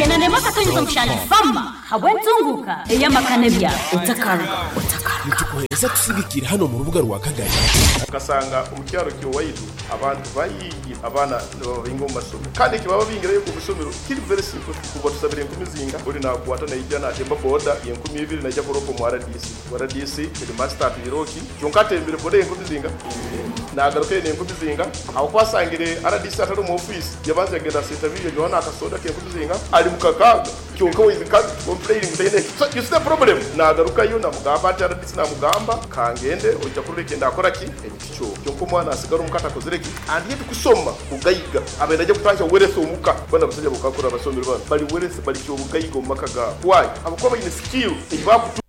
9.7 Fama habw'entunguka ey'amaka n'ebyaro. Otakaruga, otakaruga. Nitukuhereza kusigikira hanu omu rubuga rwa Kagari. Okasanga omu kyaro ky'owaitu abantu baingi abaana nibababinga omu masomero kandi ekibababingirayo omu isomero kiri very simple, kuba tusabire enkumi zinga ori nakwata naija natemba boda y'enkumu 2 naija kuropa omu RDC. RDC headmaster atwireho ki kyonka atembere boda y'enkumi zinga nagaruka eine enkumi zinga aho kwasangire RDC atari omu office yabanza yagenda asenta bibiri yanywaho n'akasoda k'enkumi zinga ari mu kakaaga kyonka we can't complain ngu taine. So you see the problem, nagarukayo namugamba ati RDC namugamba kangende ojja kurora ekindakora ki ekikyo kyonka omwana asigara omuka atakozire ki. And yet kusoma bugaiga abaire najja kutahya wealth omuka. Bana abasajja bokakura abasomero bano bali wealth bali kyobugaiga omu maka gaabo. Why? Abakuba baine skill eyibakutu.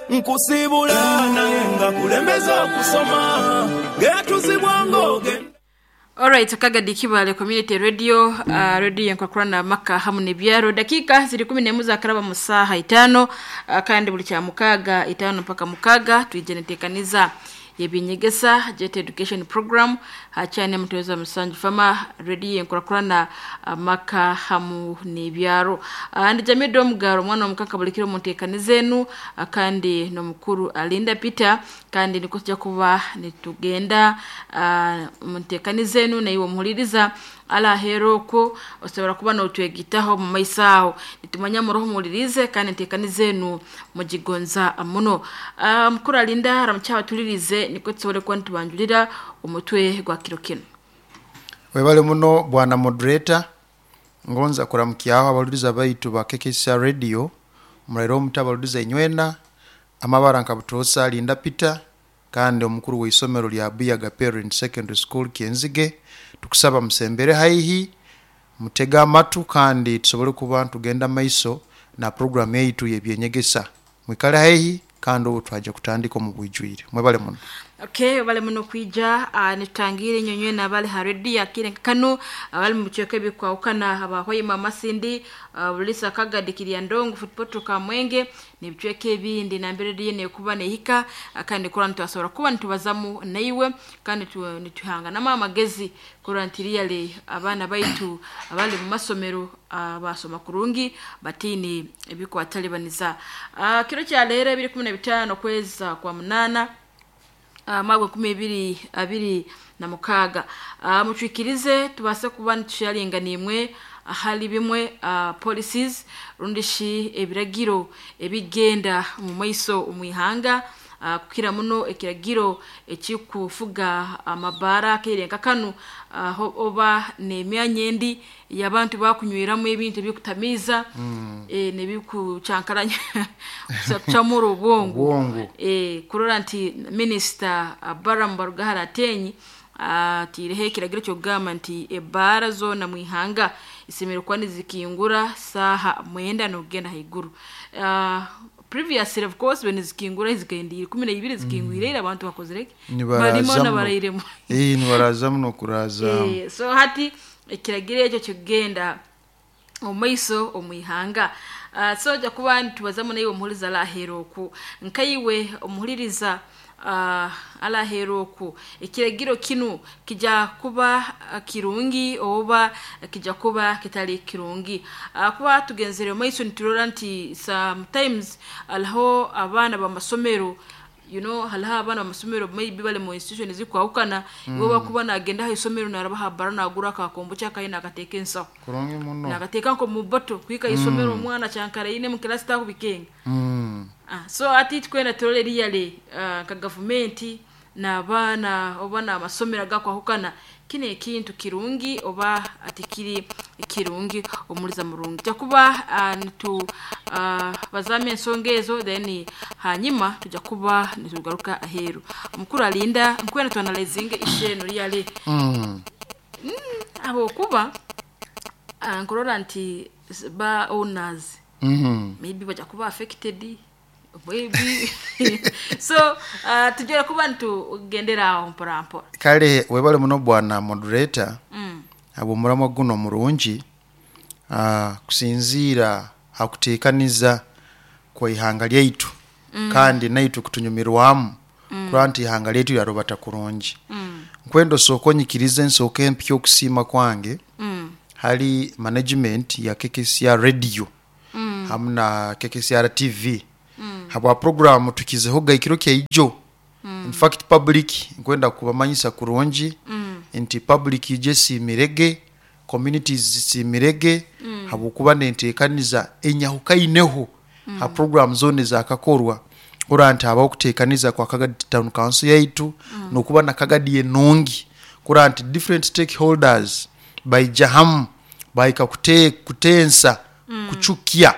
Nkusiibula naye nga kulembeza okusoma ng'eyatuzibwa ng'ogenda. Alright, Kagadi Kibale Community Radio, radio yenkwakurana maka hamu n'ebyaro. Dakika ziri 11 zakaraba mu saha 5, kandi buli kya mukaaga 5 mpaka mukaaga twije netekaniza yebinyegesa Jet Education Program hachane muteweza musanju fama radio yenkwakurana maka hamu n'ebyaro. Ndi Jamido Omugaro mwana omukaka bulikiro muntekanizenu, kandi n'omukuru Alinda Peter, kandi niko tujja kuba nitugenda muntekanizenu na iwe muhuliriza ala heroko osobola kuba n'otwegitaho mu maiso aho nitumanya muroho muhulirize kandi ntekanizenu mugigonza muno. Mukuru Alinda ramukyawa tulirize niko tusobole kuba nitubanjulira omutwe gwa kiro kino. Webale muno bwana moderator, ngonza kuramukyaho abaluriza baitu ba KKCR Radio murairo omuta abaluriza inywena amabara nka Butosa Linda Peter kandi omukuru w'isomero lya Buyaga Parent Secondary School Kyenzige. Tukusaba musembere haihi mutega amatu kandi tusobole kuba tugenda maiso na program yaitu y'ebyenyegesa. Mwikale haihi kandi ubu twaje kutandika omu bwijwire. Mwebale muno. Okay, bale muno kwija, nitutangire nyonywe na bale ha radio akire kanu abali mu cyoke bikwaukana abahoyima Masindi, Bulisa Kagadi Kirya Ndongo Football Kamwenge ni bicweke ebindi na mbere radio ne kuba nehika, kandi kora ntwasobora kuba nitubazamu naiwe kandi nituhanga nama amagezi kora ntiriyale abaana baitu abali mu masomero, basoma kurungi batini ebikwatalibaniza. Kiro kya lero 2015 kweza kwa 8 mwaka 2026. Mutwikirize tubase kuba nitusharinga nimwe ahali bimwe, policies rundishi ebiragiro ebigenda mu maiso omwihanga, kukira muno ekiragiro ekikufuga amabara kerenka kanu, oba nemyanya endi y'abantu bakunyweramu ebintu ebikutamiza, nebikucankaranya kucamura obwongo. Obwongo. Kurora nti Minister Balaam Barugahara Atenyi atireho ekiragiro ky'okugamba nti ebara zona mwihanga isemere kuba nizikingura saha 9 n'okugenda haiguru. Previously of course when zikingura zikaendire 12 zikingwire mm. Abantu bakozire barimo nabarairemo nibaraza muno kuraza. So hati ekiragiro ekyo kigenda omaiso omwihanga. So ja kuba nitubazamu naiwe omuhuriza alaheroku nkaiwe omuhuririza alaheroku ekiragiro kinu kija kuba kirungi oba kija kuba kitali kirungi. Kuba tugenzere omaiso niturora nti sometimes alaho abaana b'amasomero, you know, halaha abaana b'amasomero maybe bali mu institution zikwaukana, iwe bakuba nagenda ha isomero narabaha bara nagura akakombo kyakaye nakateeka ensaho kurungi muno nakateeka nko mu boto kwika isomero omwana kyankara ine mu class takubikenga. So ati twena turole riyale nka gavumenti n'abaana oba n'amasomero agakwahukana kino ekintu kirungi oba atikiri kirungi omuliza murungi jakuba nitu bazame ensonga ezo then hanyuma tujya kuba nitugaruka aheru. Mukuru Alinda nkwena tuanalizinge isheno riyale abo kuba nkurora nti ba owners maybe bajya kuba affected maybe so tujya kuba nitugendera aho mpora mpora. Kale webale muno bwana moderator, abo muramwa guno murungi, kusinziira hakuteekaniza kwa ihanga lyaitu, kandi naitu kutunyumirwamu kurora nti ihanga lyaitu lyarubata kurungi. Nkwenda osooke onyikirize nsooke mpye okusiima kwange. Hali management ya KKCR radio hamu na KKCR TV habwa programu tukizehoga ekiro kyaijo. In fact, public nkwenda kubamanyisa kurungi nti public ije esiimirege, communities zisiimirege habwokuba nenteekaniza enyahukaineho ha program zona ezakakorwa, kurora nti habaho okuteekaniza kwa Kagadi Town Council yaitu nokuba na Kagadi enungi, kurora nti different stakeholders baija hamu bahika kutensa kucukya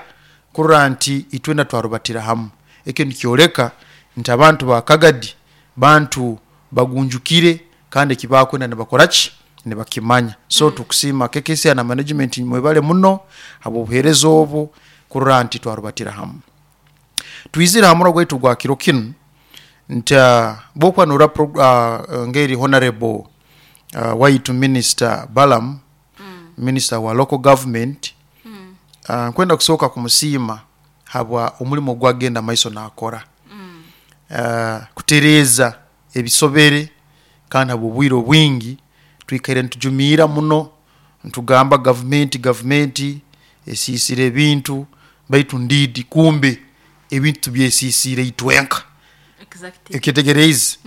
kurora nti itwena twarubatira hamu. Ekyo nikyoleka nti abantu ba Kagadi bantu bagunjukire kandi ekibakwenda nibakoraki nibakimanya. So tukusiima KKCR na management, mwebale muno habw'obuheereza obu kurora nti twarubatira hamu. Twizire ha muro gwaitu gwa kiro kinu nti bwokuba norora ngeri honorable waitu Minister Balam, minister wa local government, nkwenda kusooka kumusiima habwa omulimo gwagenda maiso nakora kutereeza ebisobere, kandi habw'obwire obwingi twikaire nitujumiira muno ntugamba gavumenti esiisire ebintu, baitu ndiidi kumbe ebintu tubyesiisire itwenka. Ekyetegereize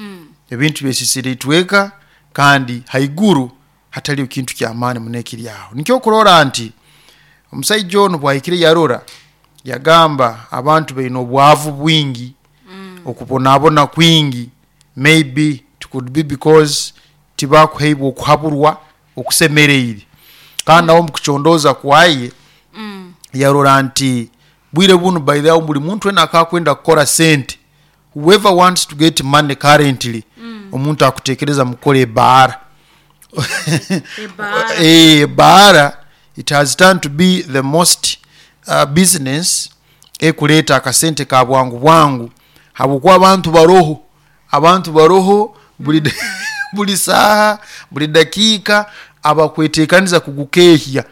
ebintu byesiisire itwenka kandi haiguru hataliyo kintu kyamaani muno ekiri aho. Nikyo kurora nti omusaija onu bwahikire yarora yagamba abantu baine obwavu bwingi, okubonabona kwingi, maybe it could be because tibakuheibwa okuhaburwa okusemereire. Kandi nawe omukucondooza kwaye yarora nti bwire bunu, by the way, buli muntu wena akakwenda kukora sente, whoever wants to get money currently, omuntu akutekereza mukukora ebaara. Ebaara. Ebaara it has turned to be the most business ekuleeta akasente ka bwangu bwangu, habwokuba abantu baroho buli saaha, buli dakiika abakwetekaniza kugukehya.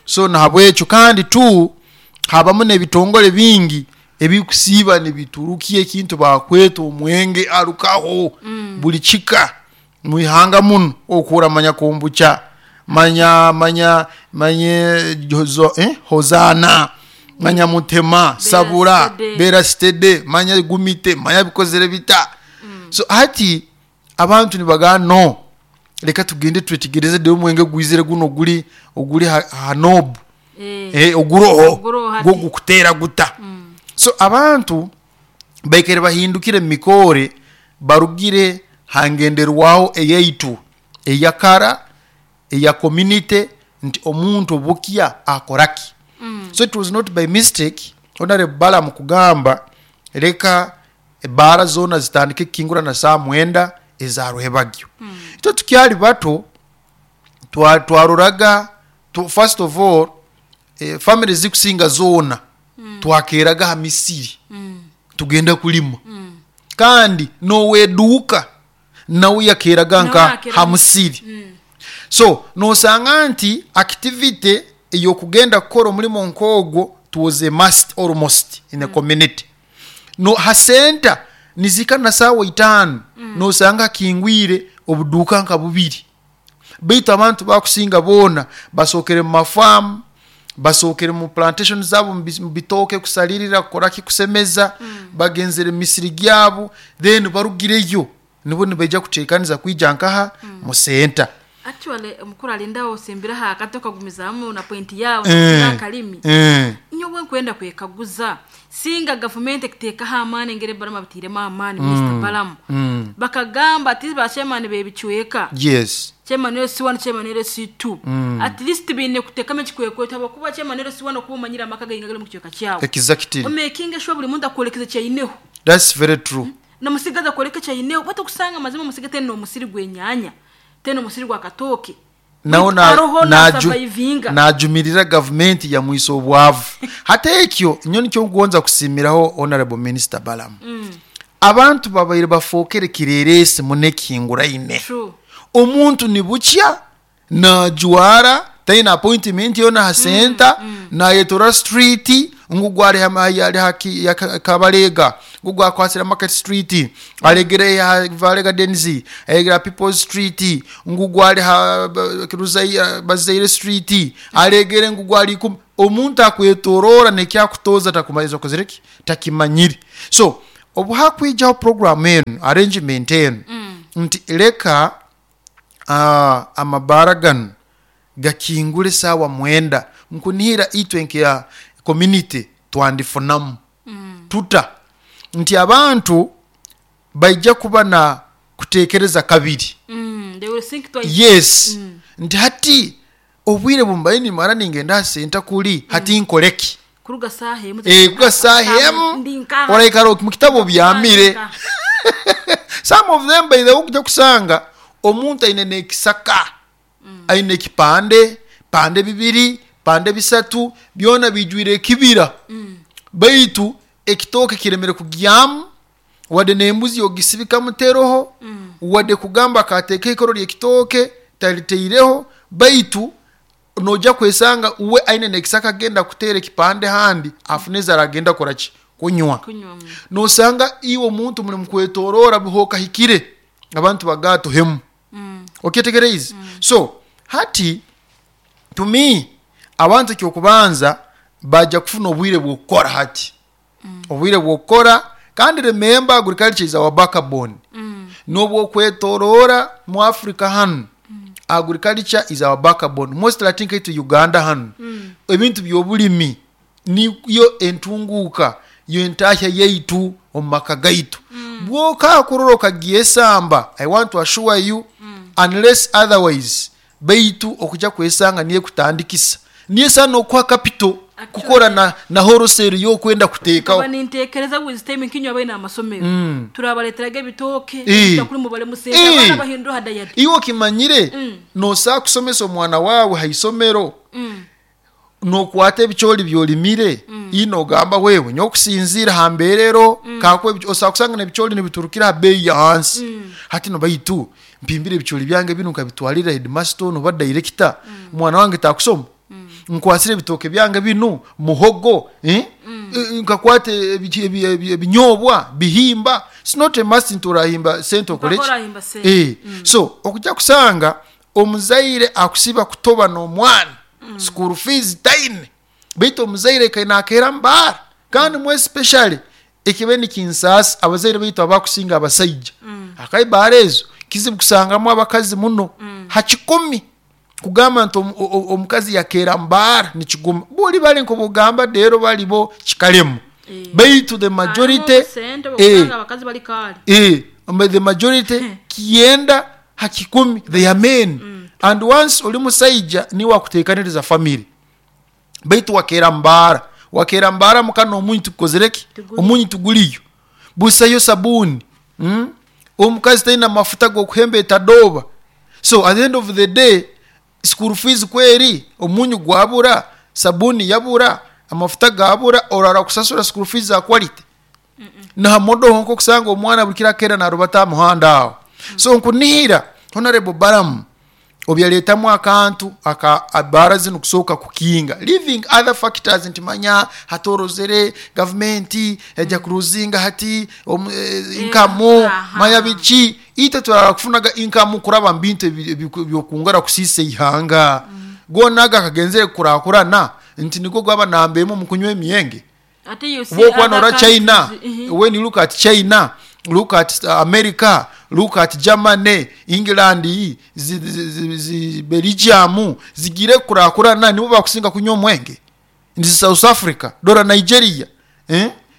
So nahabwekyo kandi tu habamu n'ebitongole bingi ebikusiiba nibiturukia ekintu bakweta omwenge arukaho buli kika mwihanga muno, okura manya kombucha, manya manya manye jozo, hozana, manya mutema sabura, stede. Bera stede, manya gumite, manya bikozere bita. So hati abantu nibagaa no reka tugende twetegereze de omwenge gwizire guno guli oguli hanobu oguroho Oguroho hati. gwo gukutera guta. So abantu baikere bahindukire mumikore, barugire hangenderwaho eyaitu eyakara eya community nti omuntu obukya akoraki. So it was not by mistake honorable Balaam kugamba reka ebaara zona zitandike kukingura na saa 9 ezaruhebagyo. Itwe tukyali bato twaroraga first of all, family zikusinga zona twakeraga ha misiri tugenda kulima, kandi noweduuka nawe yakeraga nka Nawe yakeraga. ha musiri. So nosanga nti activity eyokugenda kukora omulimo nk'ogwo was a must almost in the community. No ha center nizika na sawa 5 nosanga kingwire obuduuka nka bubiri, baitu abantu bakusinga boona basookere mu mafamu, basookere mu plantation zabo, mu bitooke kusalirira, kukoraki, kusemeza, bagenzere mu misiri gyabo, then barugireyo nibo nibaija kuteekaniza kwija nkaha mu center. Actually omukuru alindawo osimbira ha akato kagumizamu na point yawe akalimi. Nyowe nkwenda kwekaguza singa gavumenti ekiteekaho amaani engeri Balamu abitiiremu amaani, Minisita Balamu, bakagamba ati ba chairman bebicweka, chairman LC1, chairman LC2, at least biine kuteekamu ekikwekweto, habwokuba chairman LC1 okuba omanyire amaka gaingi agali mu kicweka kyawe, omakinga sure buli muntu akwolekeza kyaineho. That's very true. Namusigaza akwoleka kyaineho, batokusanga amazima omusiga tena omusiri gw'enyaanya, tena omusiri gwa katooke. Nawo Aroho nasurvivinga. Najumirira gavumenti yamwisa obwavu. Hati ekyo nyo nikyo nkugonza kusiimiraho honorable minister Balamu. Abantu babaire bafookere kireresi munekihinguraine. Omuntu nibukya najwara taina appointment yona ha center, nayetora street ngu gwari haki ya Kabalega. Ngugu akwasire Market Street, alegere ha Vale Gardens, alegere ha People's Street, ngugu ali ha Bazaire Street, alegere ngugu ali omuntu akwetorora nekyakutoza takumaliza okozere ki takimanyire. So obu hakwijaho program enu, arrangement enu, nti leka amabara ganu gakingule sawa 9, nkunihira itwe nka community twandifunamu. Tuta nti abantu baija kuba na kutekereza kabiri. They will think twice. Yes. Nti hati obwire bumbaye nimara ningenda senta kuli hati nkoleki. Kuruga saha emu. Kuruga saha emu. Oraikara mu kitabo byamire. Some of them by the way kusanga omuntu aine nekisaka. Aine kipande, pande bibiri, pande bisatu, byona bijwire kibira. Baitu ekitoke kiremere kugyamu, wade nembuzi ogisibika muteroho, wade kugamba kateke ikoro lyekitoke taliteireho, baitu noja kwesanga uwe aine nekisaka genda kutere kipande handi afuneza aragenda korachi kunywa. Nosanga iwo muntu muri mukwetorora buhoka hikire abantu bagato hemu. Okyetegereza. So hati to me abantu kyokubanza baja kufuna obwire bwokora hati. Obwire bwokora, kandi remember agriculture is our backbone. Nobwo kwetorora mu Africa hanu. Agriculture is our backbone. Most I think to Uganda hanu. Ebintu byobulimi niyo entunguka yo entahya yaitu omumaka gaitu. Bwoka kuroroka gyesamba, I want to assure you, unless otherwise baitu okuja kwesanga niye kutandikisa. Niye sana okwa capital kukora na wholesale yo kwenda kuteka. Kuba nintekereza with time nkinywa bene amasomero. Turabaleteraga ebitoke kuri mubale musenda abana bahindura hadayadi. Iwo kimanyire no saa kusomesa omwana wawe haisomero. No kwate ebicholi byolimire ino gamba wewe nyokusinzira hamberero kakwe osakusanga nebicholi nibiturukira bei ya hansi. Hati no baitu mpimbire ebicholi byange binu nkabitwalira headmaster no ba director mwana wange takusoma. Nkwasire bitoke byange binu muhogo nkakwate ebinyobwa bihimba. It's not a must nturahimba sento college. So okujja kusanga omuzaire akusiba kutoba no mwana school fees time bito omuzaire kaina akera mbara kandi mwe especially ekibeni kinsas abazaire bito abakusinga abasajja akaibarezo kizibu kusangamu abakazi muno hakikumi kugamba nti omukazi yakera mbara nikiguma buli bali nkobugamba dero balibo kikalemu baitu the majority abakazi bali kali the majority kienda hakikumi they are men. And once oli musaija ni wakutekaniriza family baitu wakera mbara mukano omuntu tukozereki omuntu tuguliyo busayo sabuni omukazi taina mafuta gokuhembe etadoba. So at the end of the day school fees kweri omunyu gwabura sabuni yabura amafuta gabura orara kusasura school fees za quality. Na modo honko kusanga omwana bulikira kera na rubata muhanda awo. So nkunihira Honorable Balaam obyaletamu akantu aka abara zino kusoka kukinga leaving other factors nti manya hatorozere government eja kuruzinga hati income manya bichi ite turara kufunaga income kuraba mbintu byokungara kusise ihanga. Gonaga kagenzere kurakurana nti niko gwaba nambemo mukunywa emiyenge. Ati you see other China, when you look at China, look at America, look at Germany, England, Belgium, zigire kurakurana nibo bakusinga kunywa omwenge. Ndi South Africa, dora Nigeria,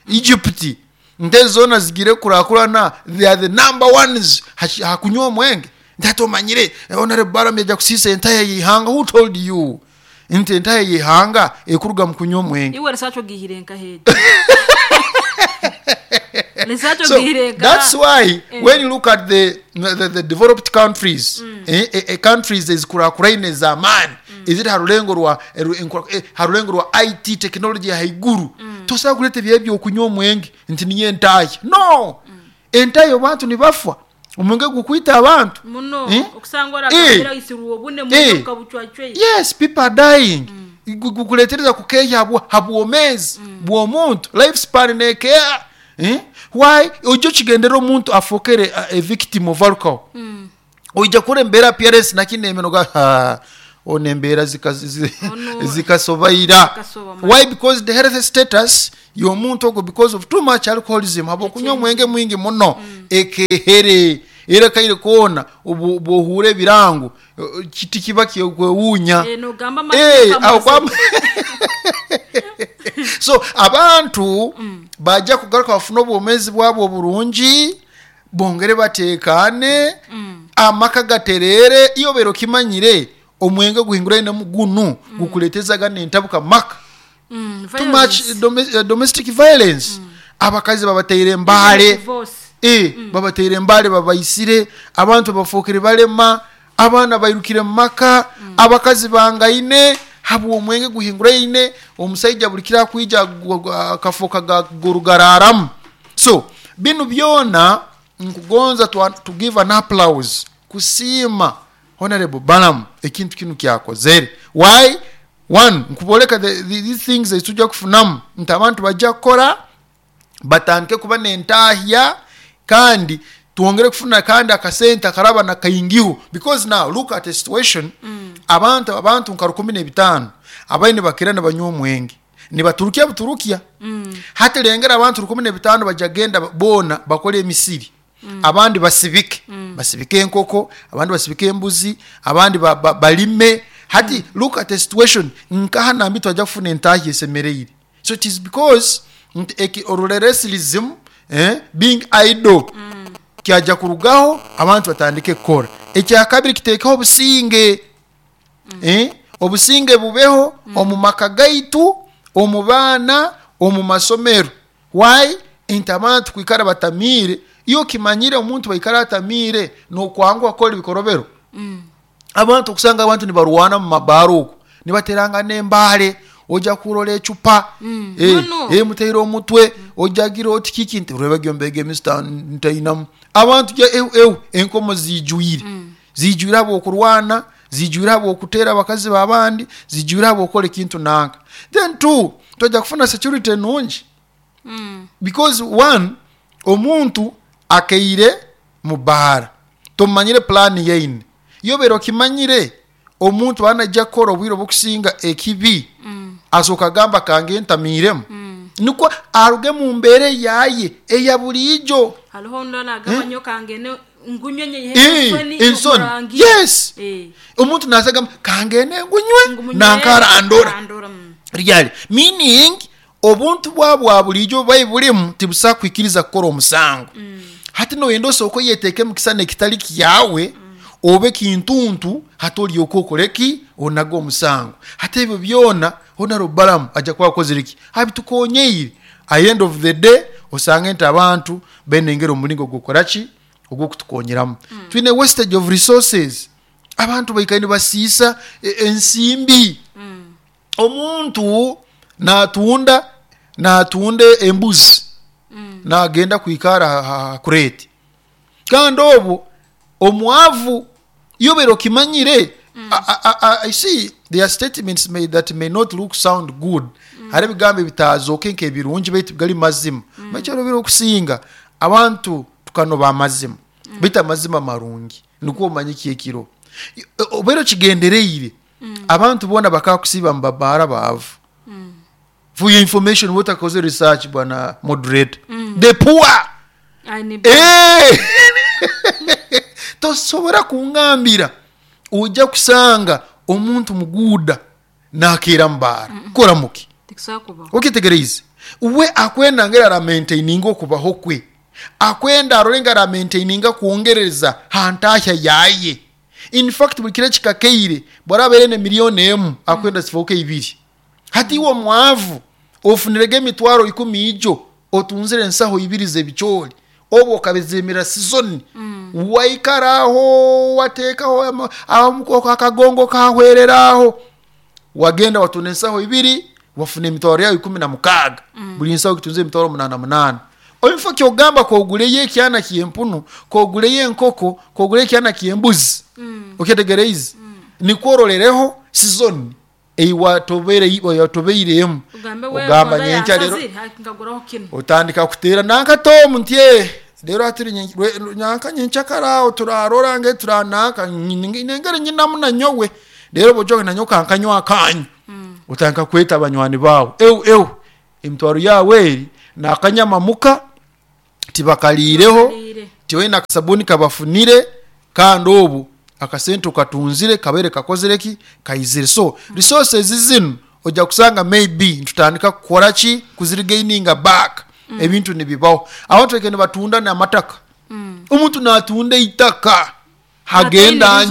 Egypt, ndezona zigire kurakurana, they are the number ones hakunywa omwenge. Ndatomanyire Honorable Balaam yaja kusisa entire yihanga. Who told you? Nti entire yihanga ekuruga mu kunywa omwenge. Iwe research gihirenka heje. So that's why when you look at the developed countries, countries ezikurakurane za man, eziri harulengo rwa harulengo rwa IT technology haiguru. Tosaba kuleta byebyo okunywa omwenge nti niye entaye. No. Entaye abantu nibafa. Omwenge gukwita abantu. Muno okusangwa rakira isiruwo bune mu kabuchwachwe. Yes, people are dying. Gukuletereza kukeya habwomezi bw'omuntu lifespan nekea. Eh? Why ojja okigendera omuntu afookere a victim of alcohol, oija kura embeera appearance nakindi emeno ga ono embeera Ono- zikasobaira. Zikasoba. Why? Because the health status y'omuntu ogwo, because of too much alcoholism, habwokunywa omwenge mwingi muno, ekehere era kaire koona bwohuura ebirango, kiti kiba kyekwewuunya. Eh, nogamba Eh, amateeka awo so abantu bajja kugaruka bafune obwomezi bwabwe oburungi, bongere batekane, amaka gaterere. Iyo bero kimanyire omwenge guhingurainemu gunu gukuletezaga nentabuka maka, too much violence. Domestic violence, abakazi babateire embaale. Divorce. Eh, babateire embaale, babaisire, abantu bafuukire balema, abaana bairukire mu maka, abakazi bangaine habwa omwenge guhinguraine. Omusaija buli kiro akwija akafuuka gurugararamu. So binu byona nkugonza to give an applause, kusiima Honorable Balaam ekintu kinu kyakozere. Why? One, nkuboleka these things ezitujja kufunamu nti abantu bajja kukora, batandike kuba nentahya, kandi twongere kufuna kandi akasente akaraba nakaingiho, because now look at the situation. Abantu nka 15 abaine bakira nibanywa omwenge nibaturukya buturukya. Hati lengera abantu 15 bajja genda boona bakole emisiri, abandi basibike, basibike enkoko, abandi basibike embuzi, abandi balime. Hati look at the situation nkaha nambi twajja kufuna entahya esemereire. So it is because nti oruleresilism, being idle, kyajja kurugaho, abantu batandike kukora. Ekyakabiri, kitekeho obusinge, obusinge bubeho omu maka gaitu, omu baana, omu masomero. Why? Nti abantu kwikara batamiire, iyo kimanyire omuntu baikara atamiire nokwanguha kukora ebikorobero. Abantu okusanga abantu nibarwana mu mabaara okwo, nibateranga n'embaale, ojja kurora ecupa, Muno. Muteire omutwe, ojagira oti kiki nti rwebagyo mbega emisita ntainamu abantu ja eu eu enkomo zijwire, zijwire habwokurwana, zijwire habwokutera abakazi babandi, zijwire habwokukola ekintu nanka. Then two, twajja kufuna security enungi, because one, omuntu akeire mu baara tomanyire plan yeine. Iyo bero kimanyire omuntu anajja kukora obwire obukusinga ekibi, asooka agamba kange ntamiiremu, nikwo aruge mu mbeera yaye eya buriijo. Hariho ondi agamba nyo kangene ngunywe nye. Eh, ensoni, yes. Omuntu nasagamba kangene ngunywe nankara andora ryali, meaning obuntu bwa bwa bulijo bwai bulimu tibusa kwikiriza kukora omusango. Hati noyenda osooka oyeteeke mu kisana ekitali kyawe, obe kintuntu, hati olyoka okoreki onaga omusango. Hati ebyo byona Honorable Balaam ajja kuba akozire ki abitukonyeire. At end of the day osange nti abantu benengera omulingo gwokoraki ogwokutukonyeramu. Twine wastage of resources, abantu baikaire nibasiisa ensimbi. Omuntu natunda embuzi, nagenda kwikara ha kureti, kandi obwo omwavu yobera okimanyire. I see there are statements made that may not look sound good. Hari ebigambo ebitazooke nk'ebirungi baitu gali mazima. Baitu okusinga abantu tukanoba amazima, baitu amazima marungi nikwo omanye kyekiro obeera okigendereire. Abantu boona bakakusiiba mu babaara baavu. For your information, wotakoze research, bwana moderator, the poor. Eh! Tosobora kungambira ojja kusanga omuntu muguuda nakeera mubaara kora muki. Okitegereize we akwenda ngera aramaintaininga okubaho kwe, akwenda arore nga aramaintaininga kwongereza hantahya yaye. In fact buli kiro ekikakeire bwarabaire ne 1 million akwenda zifooke 2. Hati iwe omwavu ofunirege emitwaro 10 ijo otunzire ensaho 2 z'ebicoori, oba okabizimira season, waikaraho wateekaho akagongo kahwereraho, wagenda watunda ensaho 2 wafuna emitwaro yawe 16. Buli nsaho kitunze emitwaro 8 8. Oinfa kyogamba koguleyo ekyana kyempunu, koguleyo enkoko, koguleyo ekyana kyembuzi. Okyetegereize nikwororereho season. Eiwatobeiremu ugambe we ogamba nyenkya rero nkaguraho kino. Otandika kuteera nanka tomu nti rero hatiri nyanka nyenkyakara turarora nge turanaka nengere nyinamu nanyowe rero bojoge nanyo kankanywa akanyu. Otandika kweta abanywani bawe eu emitwaro yawe eri nakanyama muka tibakaliireho, tiwena akasabuni kabafunire, kandi obu akasente katunzire kabere kakozere ki kaizire. So resources zinu ojja kusanga maybe ntutandika kukora ki kuzirigaininga back. Ebintu nibibaho abantu ekene batunda n'amataka. Omuntu natunda itaka hagenda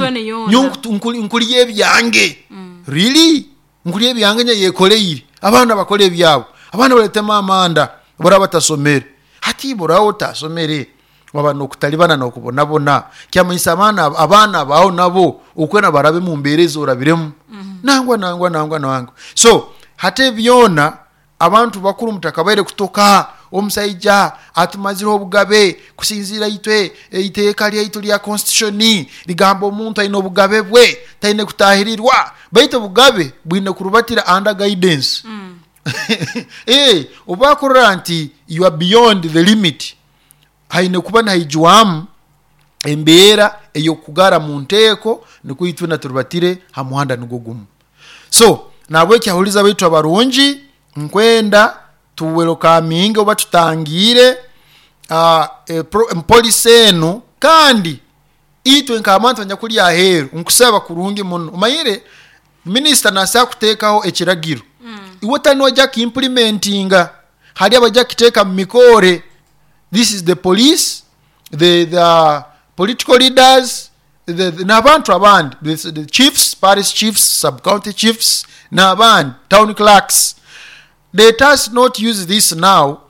nkuliye ebyange. Really nkuliye ebyange nye yekoleire abaana bakole ebyabo, abaana baletema amanda bora batasomere. Hati bora otasomere waba nokutalibana nokubonabona kyamanyisa abaana bawo nabo okwena barabe mu mbeereza orabiremu. Nangwa so hate byona abantu bakuru mutakabaire kutoka omusaija atumazireho obugabe kusinzira itwe iteeka lyaitu lya constitution ligamba omuntu aine obugabe bwe taine kutahirirwa, baitu obugabe bwine kurubatira under guidance. Obakurora nti you are beyond the limit, haine kuba nahijwamu embeera eyokugara mu nteeko nikwo itwe naturubatire ha muhanda nigwo gumu. So nabwe kyahuliza baitu abarungi nkwenda tuwelokaminge oba tutangire polisi enu, kandi itwe nk'abantu abanyakuli aheeru nkusaba kurungi muno. Omanyire minisita nasa kuteekaho ekiragiro, iwe tani ojja kiimplementinga, hari abajja kiteeka mu mikore. This is the police, the political leaders, n'abantu abandi, the chiefs, parish chiefs, sub-county chiefs, n'abandi, town clerks. Let us not use this now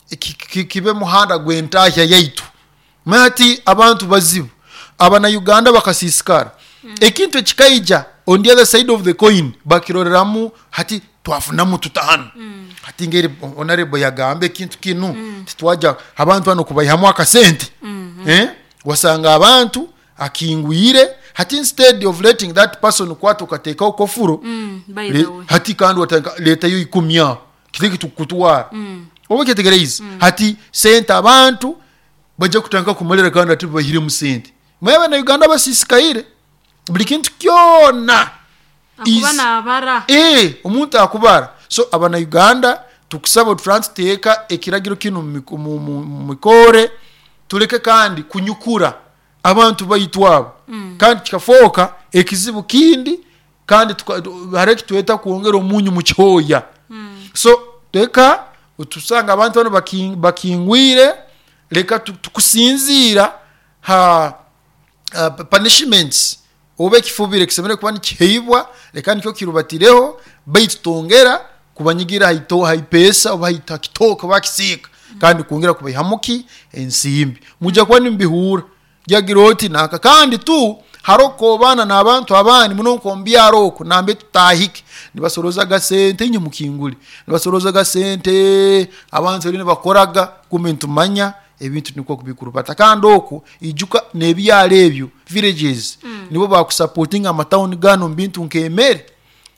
kibe muhanda gw'entahya yaitu. Mati abantu bazibu abana Uganda bakasisikara. Ekintu ekikaija on the other side of the coin bakiroreramu hati twafunamu tutahanu. Hati ngeri honorable yagambe ekintu kinu titwaja abantu bano kubayihamu akasente. Wasanga abantu akingwire hati instead of letting that person kwata ukateekaho kofuro, hati kandi leta yo ikumya kitiki tukutwara. Oba kyetegereza hati sente abantu bajja kutandika kumalira kandi ati bahiremu sente. Mwe na Uganda basisikaire buli kintu kyona akubara. Omuntu akubara. So abana Uganda tukusaba turanteeka ekiragiro kino mu mikore, tuleke kandi kunyukura abantu bayitwabo. Kandi kikafoka ekizibu kindi, kandi hareki tweta kuongera omunyu mu kyoya. So teka utusanga abantu bano bakingwire, leka tukusinzira ha punishments oba ekifubire kisemere kuba nikiheibwa, leka nikyo kirubatireho, baitu tongera kubanyigira haipesa oba haitokitoka bakisika, kandi kuongera kubayihamuki ensimbi mujja kuba nimbihura jagira oti naka. Kandi tu haroko bana n'abantu abandi muno nkombyaro oko nambe tutahike nibasoroza gasente inye mukingule nibasoroza gasente abantu rero bakoraga kumbe ntumanya ebintu niko kubikurubata. Kandi oku ijuka nebyalo ebyo villages nibo bakusupportinga amatown gano mbintu nkemere.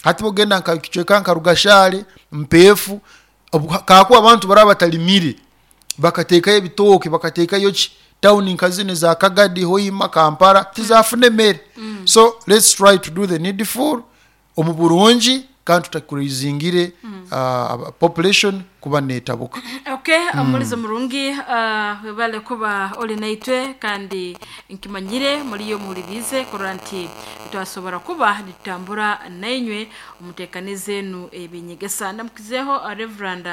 Hati bogenda nka kichweka nka Rugashale mpefu kakuwa abantu baraba batalimire bakatekayo ebitoke bakatekayo ki town nkazine za Kagadi, Hoima, Kampala tizafune mere. So let's try to do the needful omu burungi kandi tutakurizingire population kuba netabuka. Okay, amulizo murungi webale kuba oli naitwe kandi nkimanyire muri yo muhulirize koranti twasobora kuba nitambura nainywe umutekanize nu ebinyegesa. Ndamukizeho Reverend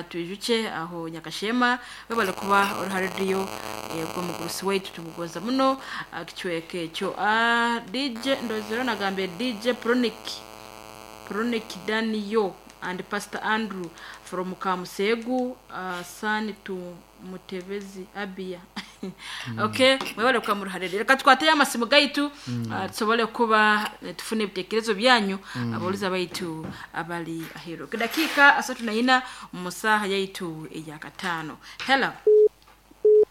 Twijuche aho Nyakashema webale kuba ori ha radio gwo mugurusi wetu tumugoza muno kichweke kyo DJ ndozero nagambe DJ Pronik Daniel and Pastor Andrew from Kamusegu, son to Mutebezi Abia. Okay, mwebale kwa muruharere. Reka twateye amasimu gaitu, tusobole kuba tufune ebitekerezo byanyu aboliza baitu abali ahero. Dakika 34 mu saha yaitu eya katano. Hello.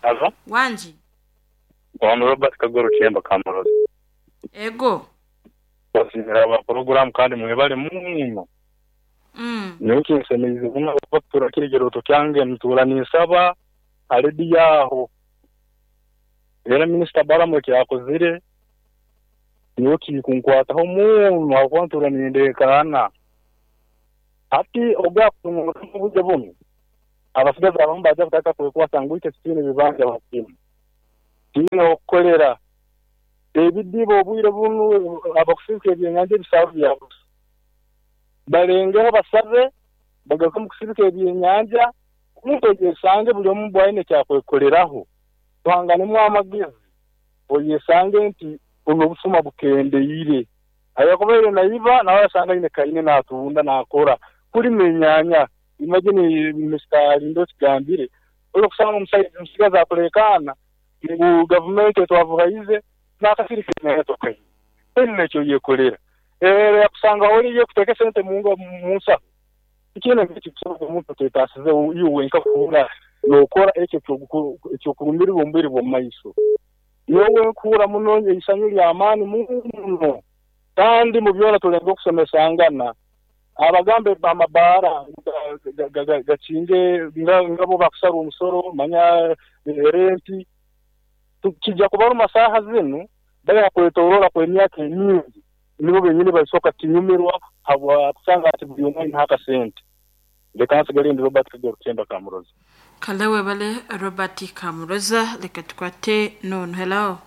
Hello. Wanji. Bwana Robert Kagoro Chemba Kamurozi. Ego. Basimira aba program kandi mwebale muno. Nyowe nsemeize muno kuba kiregeroto kyange ntuura ninsaba aledi yaho. Era Minisita Balamu ekyakozire nyowe kikunkwataho muno ahakuba ntuura nindekaana. Hati ogwa kubuje bunu abasigazi abamu baja kutaka kwekwasa ngu itwe tutiine bibanja bakimu tiine okukolera ebidiba obwire bunu abakusibika ebyenyanja ebisaaru byabusa balengeho basabe bagaruke mu kusibika ebyenyanja omuntu oyesange buli omu bwaine ekyakwekoleraho tuhanganemu amagezi oyesange nti buno obusuma bukendeire ayakubaire naiba nawe asanga aine kaine natunda nakora kulima enyanya. Imagine Mr. Lindo kigambire olokusanga omusigazi akulekaana ngu gavumenti etwavuhaize nakasirika enyanya tokaine ene ekyo yekolera yakusanga oli yekuteeka sente munsaho ikintu ekikusobola omuntu otetasize iwe wenka kuhura nokora ekyo ekyokurumirirwa omubiri bw'omumaiso. Nyowe nkuhura muno eisanyu ly'amaani muno kandi mu byona tulenga okusomesangana abagambe amabaara gakinge ngabo bakusara omusoro manya renti kijja kubaruma saaha zinu bali kwetoroora kw'emyaka emingi nibo benyini basoka kinyumirwa habwa kusanga ati buli omwe aine akasente. Leka nsigale ndi Robert Kagoro Kutemba Kamuroza. Kalewe bale Robert Kamuroza leka tukwate nono. Hello.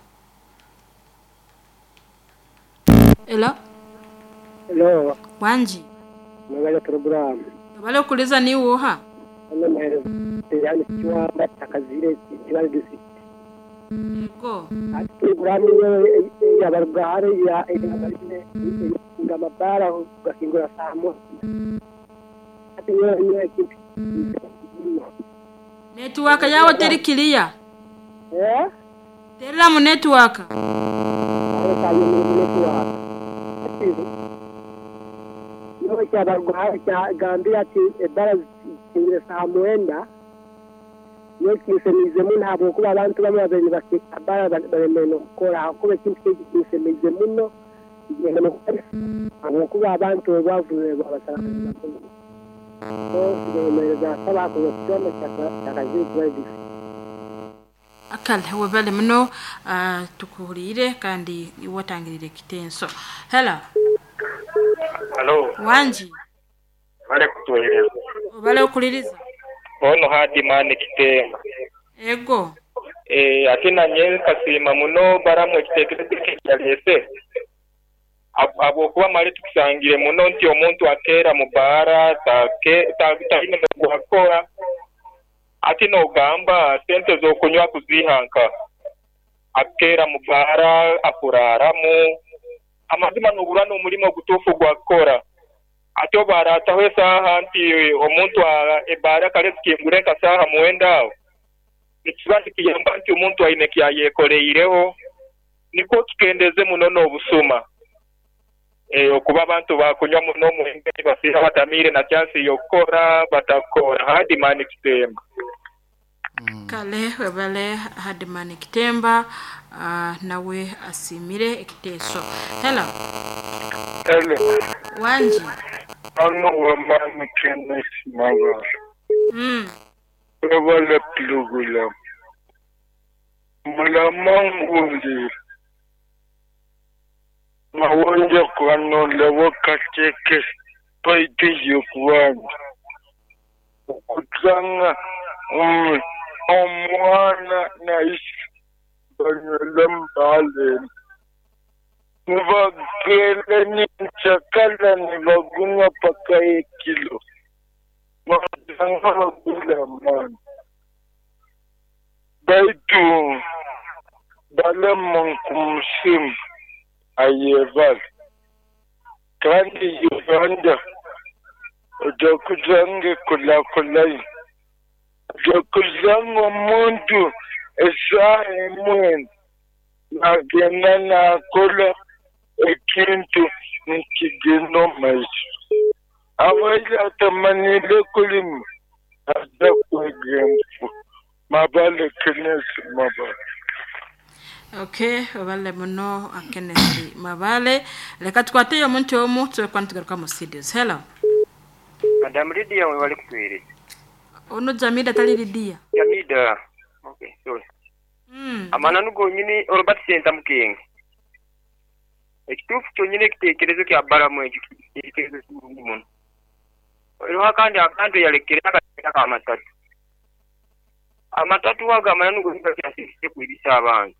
Hello. Hello. Wanji. Mwebale program. Bale okuliza ni woha? Yani kiwamba takazire kibali district. Yego. Ati program ya barugare ya ngamabara gakingura saa moja. Ati nyo network yawo teri clear. Eh? Terera mu network. Network. Nyowe kyabarugare kyagambira ati ebara zikingire saa mwenda nyowe kinsemize muno habwokuba abantu bamwe babiri bakabara baremere nokukora hakuba ekintu kiki kinsemize muno habwokuba abantu obwavu bwabasara Akal webale muno tukuhulire kandi watangirire kitenso. Hello. Hello. Wanji. Bale kutueleza. Bale okuliriza. Ono hadi mani Kitemba. Ego. Ate nanye kasima muno Balamu ekitekerezo kyalese. Habwokuba mali tukusangire muno nti omuntu akeera mu baara taine gwakora ati nogamba sente z'okunywa kuzihanka akeera mu baara akuraramu amazima nobura n'omulimo gutuufu gwakora ate obarataho esaaha nti omuntu ebaara kale zikingure nka saaha mwenda aho nikiba nikiyamba nti omuntu aine kyayekoreireho nikwo tukendeze muno n'obusuma. Okuba abantu bakunywa muno omwenge basiha batamire na chance yokora batakora hadi mani Kitemba. Kale webale hadi mani Kitemba nawe asimire ekiteso. Hello. Hello. Wanji. Ano wamani Kenneth Mabara. Webale plugula. Mulamangundi. Mawonja kwano lewo kateke paiti yokuwanda. Okutanga omwana na isi banywele mbale. Nibagele ninchakala nibagunywa paka ekilo. Mawonja bagula mani. Baitu balamu nkumusimu. Ayeval kandi Uganda ojakuzange kulakulai ojakuzanga omuntu esaha emwe nagenda nakola ekintu nikigenda omumaiso abaire atamanire kulima aza kwega enfu mabale Kenneth Mabale. Okay, obale muno Kenneth Mabale. Leka tukwateyo omuntu omu tusobola nitugaruka mu studios. Hello. Madam Lydia we wali kutuweereza. Ono Jamida tali Lydia. Jamida. Okay, sorry. Amananu gonyini Robert Senta Mukenge. Ekituufu kyonyini ekiteekerezo kya Balamu ekyo kiteekerezo kirungi muno. Eriho akandi akantu yalekere akamatatu. Amatatu ago amananu gonyini gakyasirise kwibisa abantu.